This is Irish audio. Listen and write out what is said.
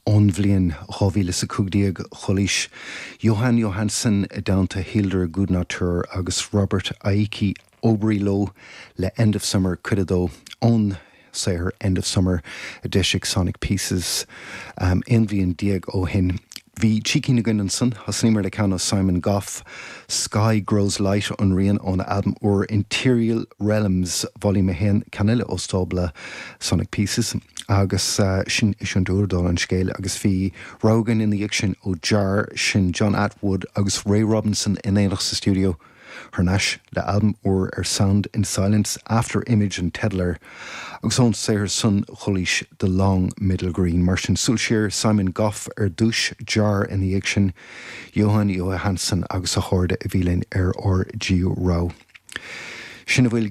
Ón bhliain 2015, chualaís Jóhann Jóhannsson i dteannta Hildur Guðnadóttir agus Robert Aiki Obrey leo le End of Summer Cuid 2 ón saothar End of Summer a d'eisigh Sonic Pieces 11 bhliain ó shin. Bhí trí cinn againn ansan. Thosnaíomar le ceann ó Simon Gough, Sky Grows Light an rian óna albam úr Interial Realms Volume 1, ceann eile ó stábla Sonic Pieces agus sin é an dúlra dála an scéil agus bhí rogha againn ina dhiaidh sin ó Jar, sin John Attwood agus Ray Robinson in éineacht sa stiúideo thar n-ais le albam úr ar Sound in Silence, After Image an teideal air agus ón saothar san chualaís The Long Middle Green. Mar sin, súil siar, Simon Gough ar dtús, Jar ina dhiaidh sin, Jóhann Jóhannsson agus a chairde a bhí linn ar ár dtríú rogha. Sin a bhfuil.